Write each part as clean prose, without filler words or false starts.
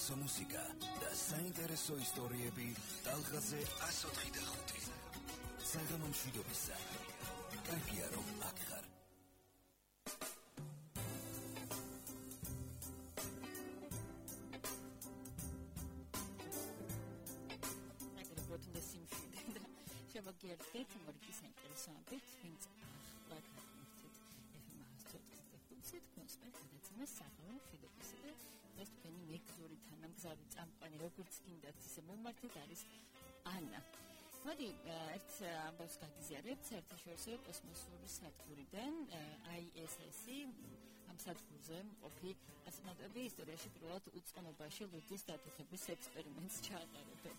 მუსიკა და საინტერესო ისტორიები ტალღაზე 104.5. საღამო მშვიდობისა. კარგია რომ აქ ხარ. შევაგიერთეთ მორიკის საინტერესოებით, ვინც ლაკრაკით FM-104.5 კონსპექტ გადაცემას საღამო მშვიდობისა და ეს თქვენი მეგზური თანამგზავრი წამყვანი როგორც გინდათ ისე მომართეთ არის ანა. მოდი ერთ ამბავს გაგიზიარებთ საერთაშორისო კოსმოსური სადგურიდან ISS-ი ამ სადგურზე მყოფი ასტრონავტები ისტორიაში პირველად უწყნობაში ლუდის დათვების ექსპერიმენტს ჩაატარებენ.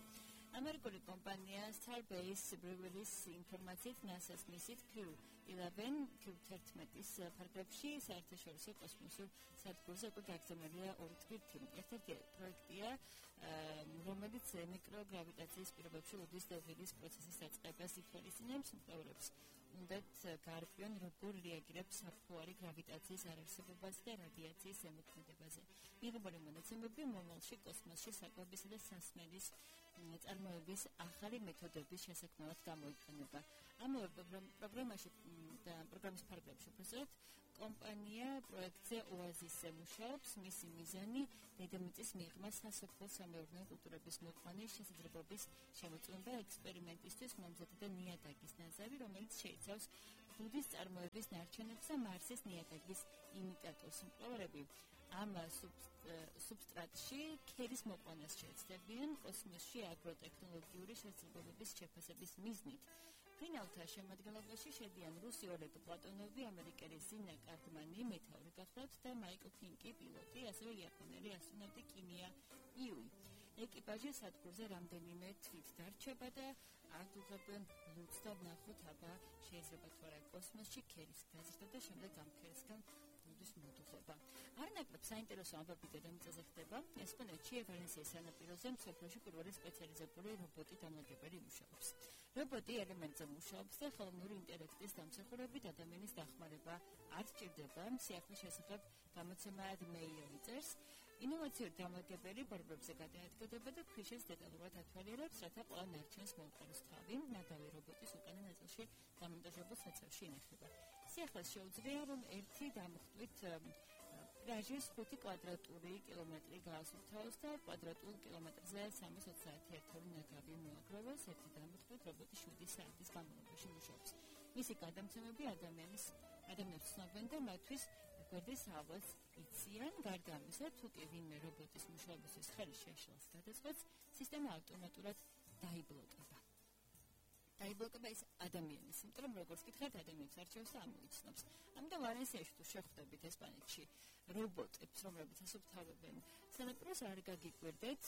ამერიკული კომპანია Starbase Breweries ინფორმაციით NASA-ს მისით Q11-ის ფარგლებში საერთაშორისო კოსმოსურ სადგურზე უკვე გაგზავნილია 2 თვით. ერთ-ერთი პროექტია, რომელიც მიკროგრავიტაციის პირობებში ლუდის დათვების პროცესის დაწყებას ითვალისწინებს, მკვლევარებს უნდათ გაარკვიონ, როგორ რეაგირებს საფუარი გრავიტაციის არარსებობაზე და რადიაციის ზემოქმედებაზე. მიღებული მონაცემები მომავალში კოსმოსში საკვებისა და სასმელის წარმოების ახალი მეთოდების შესაქმნელად გამოიყენება. ამავე პროგრამაში და პროგრამის ფარგლებში უბრალოდ კომპანია პროექტზე ოაზისზე მუშაობს. მისი მიზანი დედამიწის მიღმა სასოფლო-სამეურნეო კულტურების მოყვანის შესაძლებლობის შემოწმება ექსპერიმენტისთვის მომზადება ნიადაგის ნაზავი, რომელიც შეიცავს ლუდის წარმოების ნარჩენებს და მარსის ნიადაგის იმიტატორს. მკვლევარები ამ სუბსტრატში ქერის მოყვანას შეეცდებიან კოსმოსში აგროტექნოლოგიური შესაძლებლობების შეფასების მიზნით. ფინალთა შემადგენლობაში შედიან რუსი ოლეგ პლატონოვი, ამერიკელი ზინა კარდმანი, მეთაური გახლავთ და მაიკლ ფინკი, პილოტი, ასევე იაპონელი ასტრონავტი კიმია იუი. ეკიპაჟი სადგურზე რამდენიმე თვით დარჩება და აღდგებენ ლუდს და ნახოთ, აბა შეიძლება თუ არა კოსმოსში ქერის გაზრდა და შემდეგ ამ ქერისგან ლუდის მოდუხება. არნაკლებ საინტერესო ამბები დედამიწაზე ხდება. ესპანეთში ვალენსიის სანაპიროზე მსოფლიოში პირველი სპეციალიზებული რობოტი დამლაგებელი მუშაობს. რობოტი ელემენტზე მუშაობს და ხელოვნური ინტელექტის დამსახურებით ადამიანის დახმარება არ სჭირდება. სიახლის შესახებ გამოცემა Mail წერს. ინოვაციური დამლაგებელი ბორბლებზე გადაადგება და ქვიშას დეტალურად ათვალიერებს, რათა ყველა ნარჩენს მოუყაროს თავი. ნადავი რობოტის უკანა ნაწილში დამონტაჟებულ საცავში ინახება. სიახლეს შეუძლია, რომ ერთი დამხვტვით პლაჟის 5 კვადრატული კილომეტრი გაასუფთავოს და კვადრატულ კილომეტრზე 321 ნაგავი მოაგროვოს. ერთი დამხვტვით რობოტი 7 საათის განმავლობაში მუშაობს. მისი გადამცემები ადამიანებს ცნობენ და მათთვის გვერდის ავას იციან. გარდა ამისა, თუ კი ვინმე რობოტის მუშაობისთვის ხელი შეშლას გადაწყვეტს, სისტემა ავტომატურად დაიბლოკება. დაიბლოკება ის ადამიანის, იმიტომ რომ როგორც გითხარით, ადამიანის არჩევს და ამოიცნობს. ამიტომ ვალენსიაში თუ შეხვდებით ესპანეთში რობოტებს, რომლებიც ასუფთავებენ სანაპიროს, არ გაგიკვირდეთ,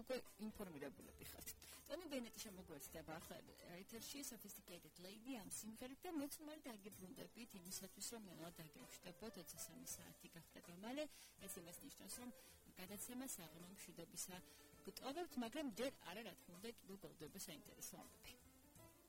უკვე ინფორმირებულები ხართ. ტონი ბენეტი შემოგვეცდება ახლა ეთერში Sophisticated Lady ამ სიმღერით და მეც მალე დაგიბრუნდებით იმისათვის, რომ ნელა დაგეხვდებოდ 23 საათი გახდება მალე. ეს იმას ნიშნავს, რომ გადაცემა საღამო მშვიდობისა გტოვებთ, მაგრამ ჯერ არა, რა თქმა უნდა, კიდევ გოლდება საინტერესო ამბები.